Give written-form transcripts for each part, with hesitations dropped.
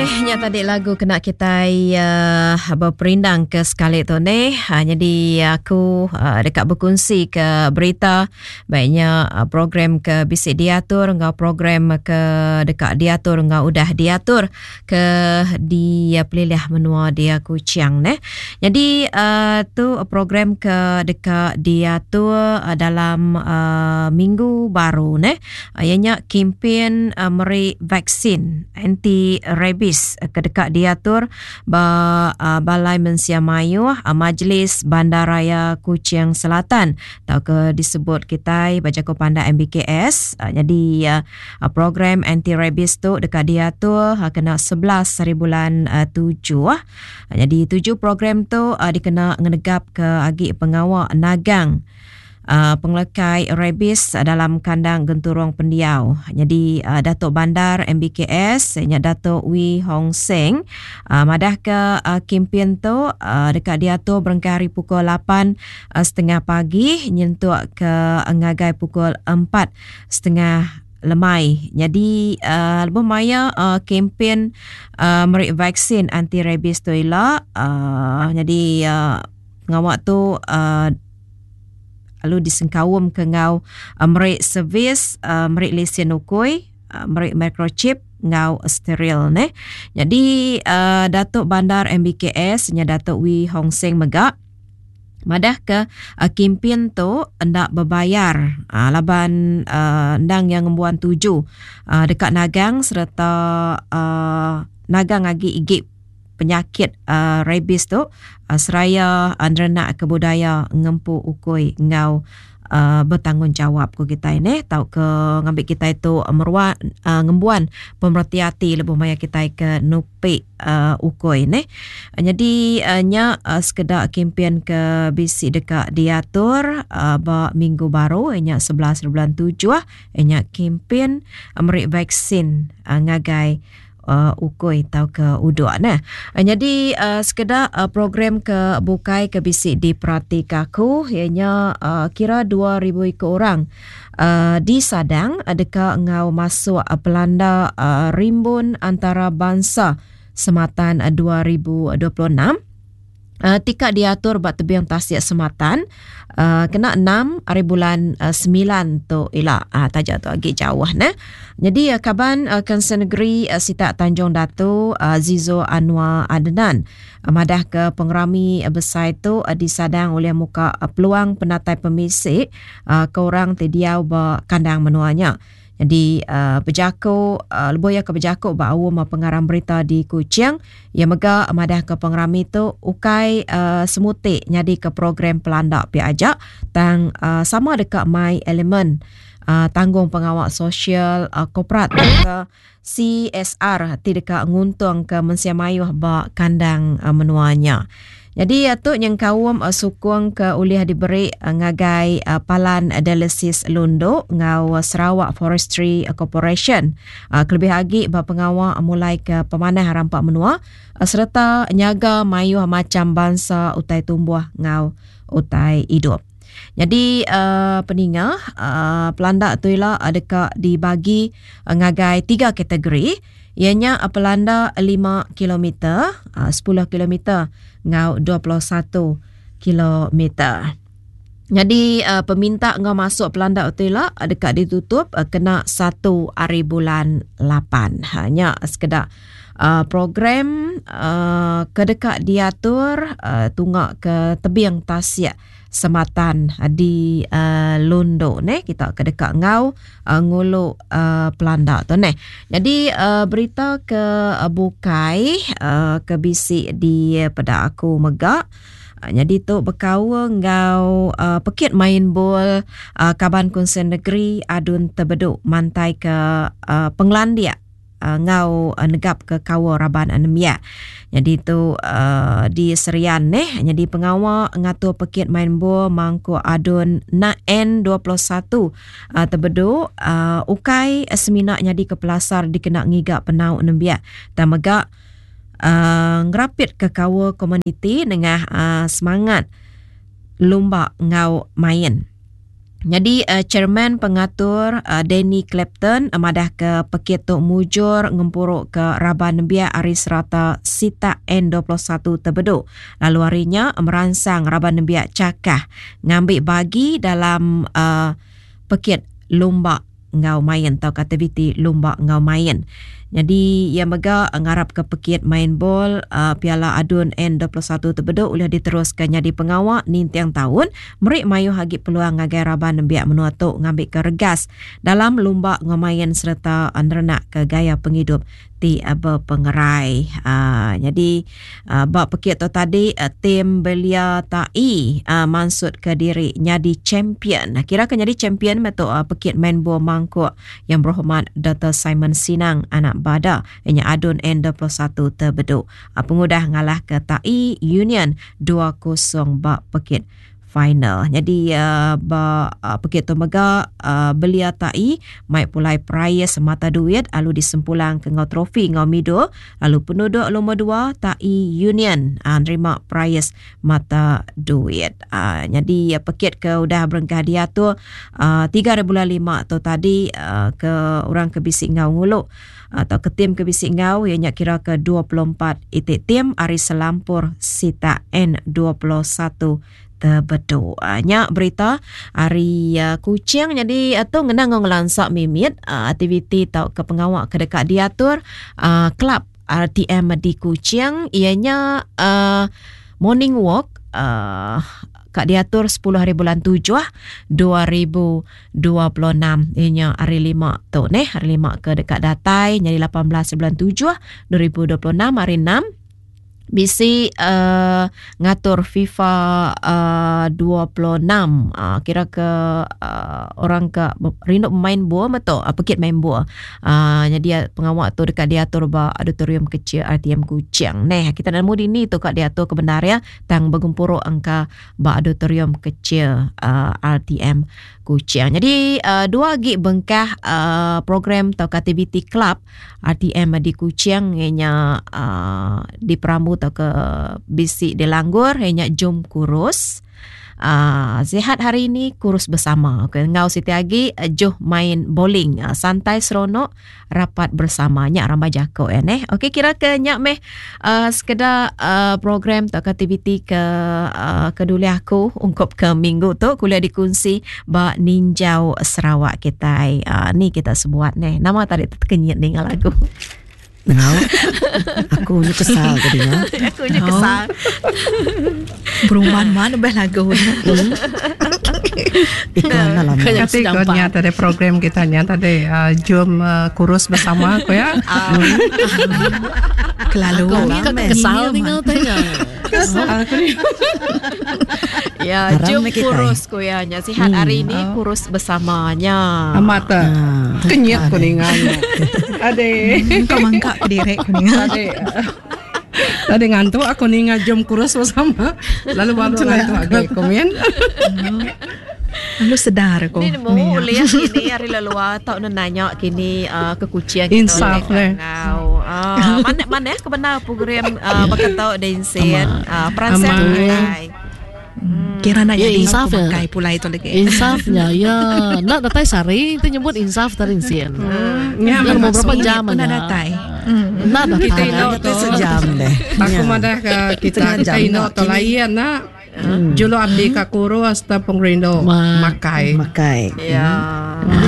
Okey, nya tadi lagu kena kitai uh, beperindang ke sekali tu ni. Uh, jadi aku uh, deka berkongsi ke berita baiknya uh, program ke bisi diatur enggau program ke deka diatur enggau udah diatur ke di pelilih menua dia Kuching neh. Jadi uh, tu program ke deka diatur uh, dalam uh, minggu baru neh. Uh, iya nya kempen uh, meri vaksin anti rabies ke deka diatur ba uh, Balai Mensia Mayuh uh, Majlis Bandaraya Kuching Selatan tauka disebut kitai ba jaku pandak MBKS. Uh, jadi uh, Program anti-rabies tu deka diatur kena 11 hari bulan tujuh. Nyadi tuju program tu dikena ngenegapka agi pengawa nagang pengelekai rabies dalam kandang genturung pendiau. Nyadi Datuk Bandar MBKS nya Datuk Wee Hong Seng madahka kimpin tu deka diatur berengkah ari pukul lapan setengah pagi nyentuk ke ngagai pukul empat setengah lemai. Nyadi uh, lebuh maya uh, kempen uh, meri vaksin anti rabies tu ila uh, nyadi uh, pengawa tu uh, lalu disengkaum ke enggau uh, meri servis uh, meri lesen ukui uh, meri microchip enggau steril neh. Nyadi uh, Datuk Bandar MBKS nya Datuk Wee Hong Seng mega Madahka kimpin tu enda bebayar laban endang iya ngembuan tuju deka nagang sereta nagang agi igi penyakit rabies tu seraya nerenakka budaya ngempu ukui enggau betanggungjawab ku kitai neh tauka ngambi kitai tu meruan ngembuan pemereti ati lebuh maya kitai ke nupi ukui neh. Nyadi nya sekeda kempen ke bisi deka diatur ba minggu baru iya nya 11 bulan tujuh iya nya kempen meri vaksin ngagai ukui tauka uduk neh. Nyadi sekeda program ke bukai ke bisi diperatika aku iya nya kira 2000 iku orang disadang deka enggau masuk pelanda rimbun antarabansa Sematan 2026. Tika diatur ba tebing tasik Sematan kena enam hari bulan semilan tu ila taja tu agi jauh neh. Nyadi kaban Council Negeri sitak Tanjung Datu Zizo Anwar Adnan madah ke pengerami besai tu disadang ulih muka peluang penatai pemisi ke orang ti diau ba kandang menua nya. Nyadi bejaku lebuh iya ke bejaku ba aum pengarang berita di Kuching, iya mega madahka pengerami tu ukai semuti nyadika program pelanda pia aja tang sama deka mai elemen tanggungpengawa sosial korporat tauka CSR ti deka nguntungka mensia mayuh ba kandang menua nya. Nyadi tu nyengkaum sukung ke ulih diberi ngagai Palan Dialisis Lundu enggau Sarawak Forestry Corporation kelebih agi ba pengawa mulaika pemanah rampa menua sereta nyaga mayuh macham bansa utai tumbuh enggau utai idup. Nyadi peninga pelanda tu ila deka dibagi ngagai tiga kategori iya nya pelanda lima kilometer, sepuluh kilometer enggau 21 kilometer. Nyadi peminta enggau masuk pelanda tu ila deka ditutup kena satu hari bulan lapan. Ha nya sekeda program ke deka diatur tunga ke tebing tasik Sematan di Lundu neh kita ke deka enggau ngulu pelanda tu neh. Nyadi berita ke bukai ke bisi di peda aku mega nyadi tu bekaul enggau pekit main bol kaban Kunsil Negeri Adun Tebedu mantai ke pengelandik enggau negapka kaul raban nembiak. Nyadi tu di Serian neh nyadi pengawa ngatur pekit main bol mangkuk adun N21 tebedu ukai semina nyadika pelasar dikena ngiga penau nembiak tang mega ngerapitka kaul komuniti nengah semangat lumba enggau main. Nyadi chairman pengatur Danny Clapton madahka pekit tu mujur ngempuruka raban nembiak ari serata sitak N 21 Tebedu lalu ari nya meransang raban nembiak chakah ngambi bagi dalam pekit lumba enggau main tauka aktiviti lumba enggau main. Nyadi iya mega ngarapka pekit main bol Piala Adun N 21 Tebedu ulih diteruska nyadi pengawa ninting taun meri mayuh agi peluang ngagai raban nembiak menua tu ngambika regas dalam lumba enggau main sereta nerenakka gaya pengidup ti bepengerai. Nyadi ba pekit tu tadi tim Belia Tai mansutka diri nyadi champion. Kira ke nyadi champion meh tu pekit main bol mangkuk Yang Berhormat Doktor Simon Sinang anak Bada iya nya Adun N21 Tebedu pengudah ngalahka Tai Union 2-0 ba pekit final. Nyadi ba pekit tu mega belia tai mai pulai perais mata duit lalu disempulang ke enggau trofi enggau midul lalu penuduk lumur dua tai Union nerima perais mata duit. Nyadi pekit ke udah berengkah diatur 3 hari bulan 5 tu tadi ke orang ke bisi enggau ngulu atau ke tim ke bisi enggau iya nya kira ke 24 iti tim ari selampur sitak N21 Tebedu. Nya berita ari Kuching jadi tu ngena enggau ngelansa mimit aktiviti tauka pengawa ke deka diatur kelab RTM di Kuching iya nya morning walk ka diatur 10 hari bulan 7 2026 iya nya hari lima tu neh hari lima ke deka datai nyadi 18 bulan 7 2026 hari 6 bisi uh, ngatur FIFA uh, 26 uh, kira ke uh, orang ke rindu main bola betul uh, pekit main bola uh, jadi pengawa tu dekat diatur ba auditorium kecil RTM Kuching neh kita nemu dini tu kat diatur ke benar ya tang begempuru angka ba auditorium kecil uh, RTM Kuching. Jadi uh, dua agi bengkah uh, program atau aktiviti klub RTM di Kuching ianya uh, diperambu atau ke bisi dilanggur ianya Jom Kurus. Sihat hari ini kurus bersama. Okay, enggau siti agi juh main bowling. Santai seronok rapat bersama nya rambai jako ya neh. Okey kira ke nya meh sekeda program atau aktiviti ke ke dulih aku ungkup ke minggu tu kuliah dikunsi ba ninjau Sarawak kitai. Ni kita sebuat neh. Nama tadi tekenyit ninga lagu. Nengau. Aku nyu kesal ke dinga. Aku nyu kesal. Berumban man ubah lagu. Iklan lah lama. Kati ko nya tadi program kita nya tadi uh, jom uh, kurus bersama ko ya. Kelalu. Aku kesal ninga tanya. Kesal aku ni. Ya, Haram jom meh kitai. kurus ku ya nya. Sihat hari ini kurus bersamanya. Amat tak. Kenyit ko ninga nya. Ade. Kau mangka ke diri ku ninga. Tadi Tadi ngantuk aku ninga jom kurus bersama. Lalu baru ngantuk agi komen. Lalu sedar aku. Ni nemu ulih kini hari lelua tau ne nanya kini uh, ke kucing kita Insaf ulih leh. ngau. Uh, mana mana ke benar program uh, baka tau densin uh, peransang Amai. kitai. Kira nak Ya, jadi insaf aku ya. makai pulai tu lagi. Insafnya ya nak datai sari itu nyebut insaf tadi sin. Nya Ya, mau berapa Minit jam pun nak aja. datai. Nak Kita datai. ino Kita sejam deh. Aku madah ke kita Setengah kita jam ino nak tu kini. lain nak. Juluk ati ka kurus ta pengrindu Ma. makai. Makai. Ya.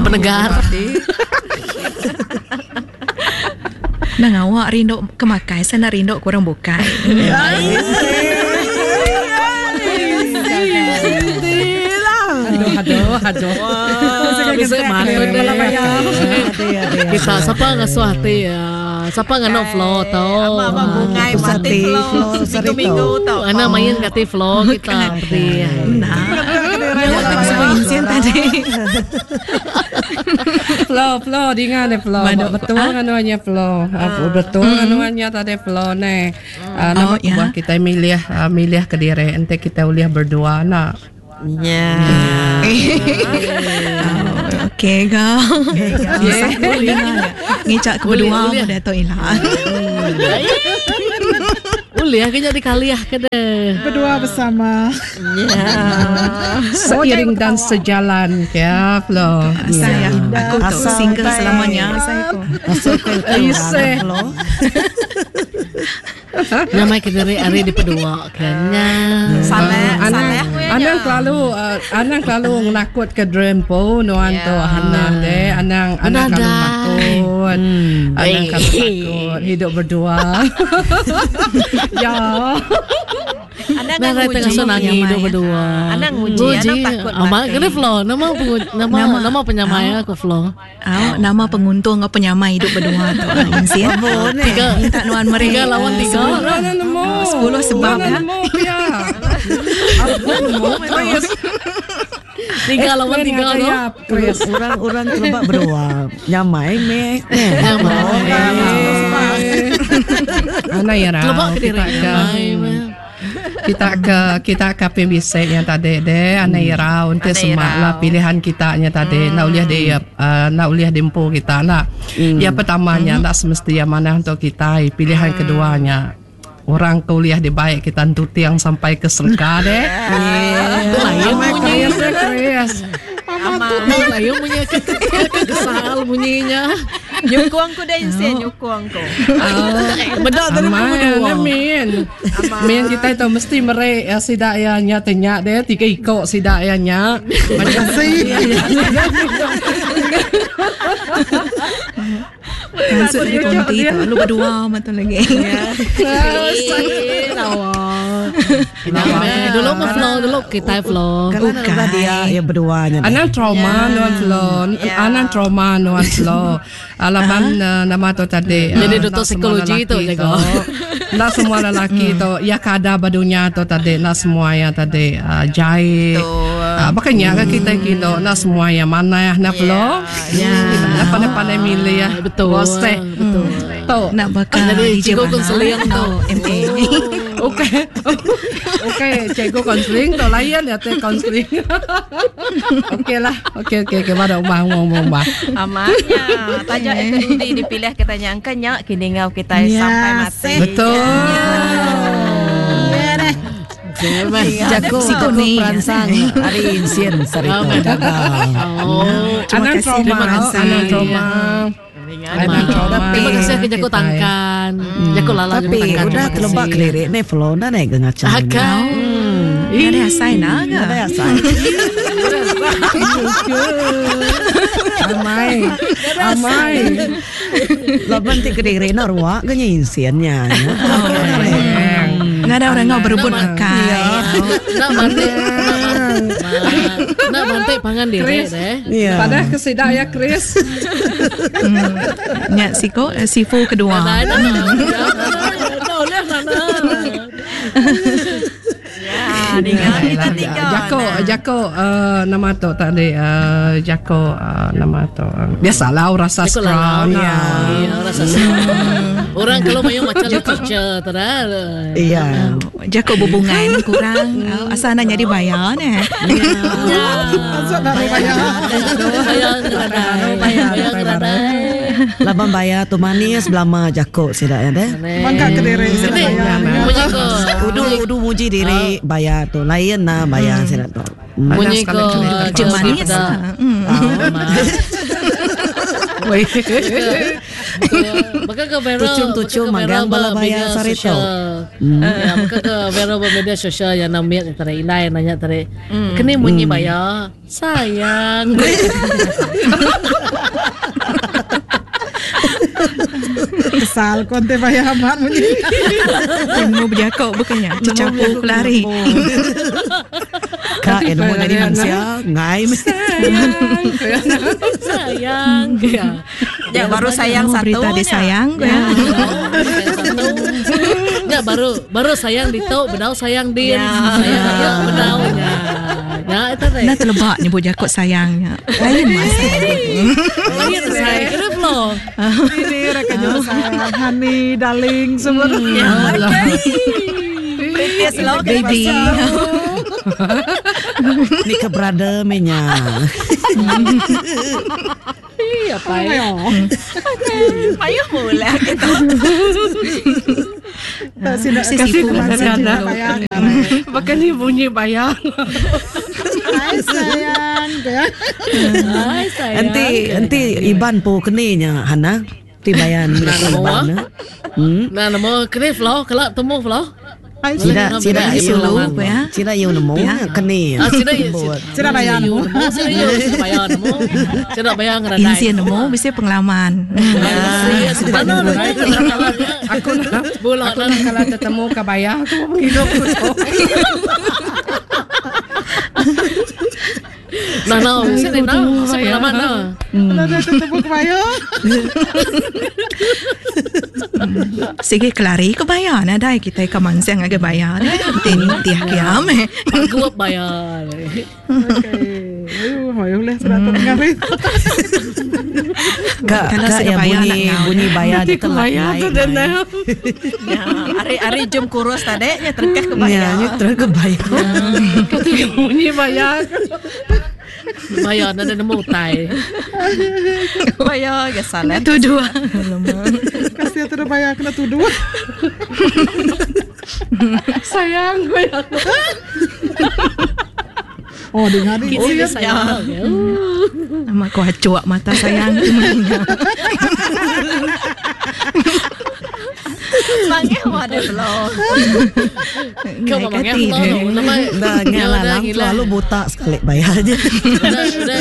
Penegar. Ati. Nang awak rindu ke makai, saya nak rindu kurang bukai. Aduh aduh aduh. Bisa matun deh. Kita siapa ngasuh hati ya. Siapa ngano flow tau. Ama ama bungai Pusat mati ti, flow flow minggu-minggu tau. Ana main kati flow kita seperti. Nah, yang semua insin tadi. Flow flow dinga deh flow. Madu. Betul anuannya flow. Ah, Betul anuannya tadi flow ne. Ah, Nama Oh, ya. buah kita milih ah, milih ke diri ente kita uliah berdua nak. Ya. Oh, Okey kau. Ngicak ke berdua Boleh, mu dah tu ilah. Ulih ke nya dikalih ke deh. Berdua bersama. Ya. Seiring dan sejalan ya Flo. Saya aku tu single selamanya saya ko. Asal ke Iseh. Flo. Nyamai ke diri ari dipedua ke nya. Salah, Anang salah nya. anang kelalu anang kelalu ngenakut ke dream po nuan tu Hannah deh anang anang kelalu Menadai. takut. Anang kelalu takut hidup berdua. ya. Anang Nah, nguji. tengah so nangi hidup berdua. Anang nguji, anang takut Amat mati. kena Flo, nama nama nama penyamai aku Flo. Au, nama penguntung ngau penyamai hidup berdua tu. Insi. Tiga Minta nuan meri. Tiga lawan tiga. Mana nemu? 10 sebab Mana ya. nemu ya. Aku nemu Chris. Tiga lawan Explain tiga ngagai tu. ya, Chris. Orang-orang terlebak berdua. Nyamai meh. Nyamai. Ana ya Telebak ke diri kita ke nyamai meh. kita ke kita ke PMBC yang tadi deh ana irau untuk Ana semak irau. lah pilihan kita nya tadi nak uliah di nak uliah dimpu kita nak. Yang pertamanya nak semestinya mana untuk kita pilihan keduanya orang kuliah di baik kita tiang sampai ke surga deh. Itu lain Amai bunyi. Chris, eh, Chris. Itu lain bunyi kesal bunyinya. Nyukung ku deh Insi, nyukung ku. Bedak tadi Amai, berdua. ana min. Min kita itu mesti merek ya, sidak ya nya tanya deh tiga ikok sidak ya nya. Macam Masuk di konti tu. Lu berdua mah tu lagi. Eh, lawa. Dulu mah Flo, dulu kita Flo. Kalau nak dia yang berduanya. deh. Anang trauma nuan flo, anang trauma nuan flo. Alaman nama tu tadi. Jadi ah, doktor nak semua psikologi tu lelaki jaga. Nak semua lelaki tu, ya kada badunya tu tadi, nak semua yang tadi jahit. Makanya kan kita kino nak semua yang mana ya nak flo. Ya. Kita nak pandai-pandai milih ya. Betul. Boseh. Betul. Tu. Nak bakal Jadi DJ cikgu Bana. konseling tu. MA. Okey. Okey, cikgu konseling tu layan ya teh konseling. Okey lah. Okey okey okey pada ubah ubah ubah. Amannya. Tanya itu Dudi dipilih kita nyangka nya kini ngau kita Ya, sampai mati. Betul. Jago Psiko jago ni. peransang hari insien sarito. Oh. Anang kasih, trauma, terima kasih. anang trauma. Anang trauma. Terima kasih ke Jago Tangkan. Jago Lala Jago Tapi Tangkan. udah terima kasih. terlebak kelirik ni Flo dah naik ke ngacau. Akan. Ada asai nak ke? Ada asai. Amai. Amai. Laban ti kelirik nak ruak ke nya insiennya. Nggak ada orang ngau berebut makan. Nak bantik. Nak bantik pangan diri Chris. deh. Ya. Pada kesidak ya Chris. Nyak siko sifu kedua. Nah, nah, nah. Nah, oleh nah. Ya, dengar kita tiga. Jako, Jako nama tu tadi Jako nama tu. Biasalah orang Jago sastra. Lala. Ya. Ya, orang sastra. Orang kalau mayu macam literature tera. Iya. Jakok berbunga ni kurang. Asal nak jadi bayar ni. Masuk nak bayar. Bayar ngeradai. Bayar ngeradai. Laban bayar tu manis belama jakok sidak ya deh. Bangka ke diri saya Ini bayar. bunyi ko. Udu udu muji diri bayar tu lain nah bayar sidak tu. Bunyi ko. Cik manis lah. Weh. Maka ke viral Tucum-tucum maka ke viral magang bala ba bayar media sarito. sosial. Ya, maka ke viral ba media sosial yang namanya tarik indai nanya tarik. Kini bunyi bayar sayang. Kesal konte bayar amat bunyi. Ilmu berjakok bukannya. Cecapu lari. Kak ilmu jadi manusia ngai. Sayang. Ya. Ya, baru sayang Ilmu satu. Berita dia sayang. Ya. Ya baru baru sayang dito, bedau sayang din. Ya. Sayang ya bedau nya. Ya itu teh. Nah terlebak nyebut jakok sayangnya. Lain masa. Lain sayang kira flow. Ini mereka jual sayang, honey, darling, semua. Kritis lo Baby. Ni ke brother menya. Ih, apa ya? Payah mula kita. Kasih anak. Baka ni bunyi bayang. Hai sayang. Hai sayang. Enti enti Iban pu keni nya Hana. Ti bayan Iban. Hmm. Nah, nemu keni flow, kelak temu flow. Sida sida yu sida yu nemu keni. Ah, sida yu sida bayar nemu. Sida yu sida bayar nemu. Sida bayar ngeradai. Insi nemu bisi pengalaman. Aku nak aku nak kalau tetemu ke bayar aku hidup aku tu. Nah, nah, sini nah, sini pengalaman nah. Nah, tetemu ke bayar. Sigi kelari ke bayar nadai kita ke mansang agi bayar deh. Ti nitih kiam. Pagup bayar. Okey. Ayu, ayu leh sudah tengah ni. Ka ka ya bunyi bunyi bayar Nanti tu ke bayar tu dan nah. Ya, ari-ari jom kurus tadi nya terkeh ke bayar. Ya, nya terus ke bayar. Kata bunyi bayar. Bayar nada nemu utai. Bayar ke salah. Tuduh. Kasih tu dah bayar kena tuduh. Sayang gue. Oh, dengar ni. Oh, ya sayang. Nama aku acuak mata sayang. Mangeh ada belum. Kau mangeh belum. Nama Dah ngalah lalu buta sekali bayar je.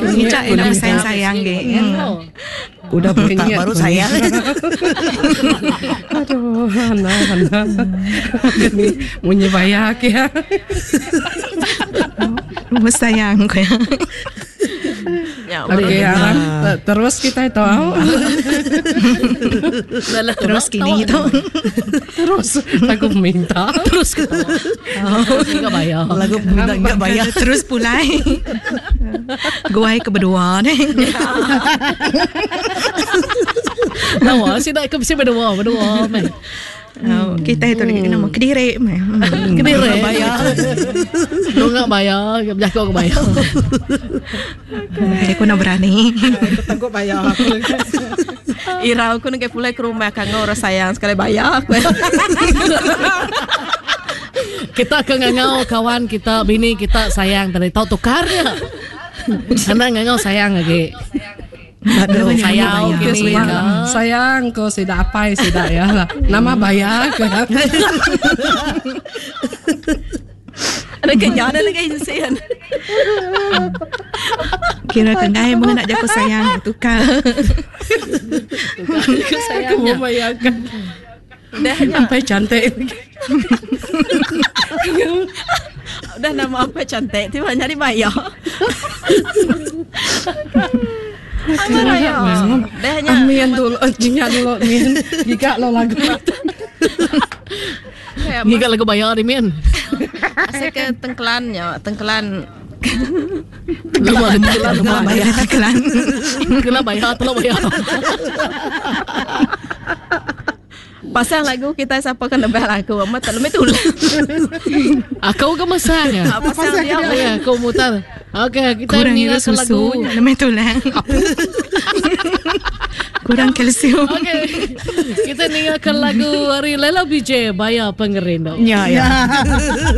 Ngicak nama sayang sayang ge. Udah buta baru sayang. Aduh, Hana, Hana. Bunyi bayar ke. Rumah sayang ko ya. Ya, Okey, Aram. Terus kita itu. Terus kini itu. Terus aku minta. Terus ketawa. Terus enggak bayar. Lagu minta enggak bayar. Terus pulai. Guai ke berdua ni. Nawa, sih nak ke mesti berdua, berdua meh. Oh, kita itu lagi kena kediri meh. Kediri bayar. Lu enggak bayar, berjaga ke bayar. Jadi aku nak berani. Aku tanggup bayar aku. Irau aku nak pulai ke rumah kang orang sayang sekali bayar aku. Kita ke ngangau kawan kita, bini kita sayang tadi tahu tukarnya. Anak ngangau sayang lagi. Aduh, Sayang kini. Sayang ko sida apai sida ya lah. Nama bayar ke. Ada kenyang ada lagi insian. Kira kengai mengenak jago sayang tukar. Aku mau bayarkan. Dah Sampai cantik. Udah nama apa cantik tiba nyari bayar. Apa raya? Dah nya. Amin dulu, jingat dulu min. Giga lo lagu. Giga lagu bayar ni min. Asal ke tengkelannya, tengkelan Lama tengkelan Lama bayar tengkelan. Tengkelan bayar, tolong bayar. Pasang lagu kita siapa kena lebih lagu amat tak lebih tulang. Aku ke masang ya? Pasang dia. Ya, aku mutar. Okey, kita Kurang ira meninggalkan susu, lagu. lebih tulang. Kurang kalsium. Okey. Kita meninggalkan lagu dari Lela BJ Bayar Pengerindu. Ya, ya.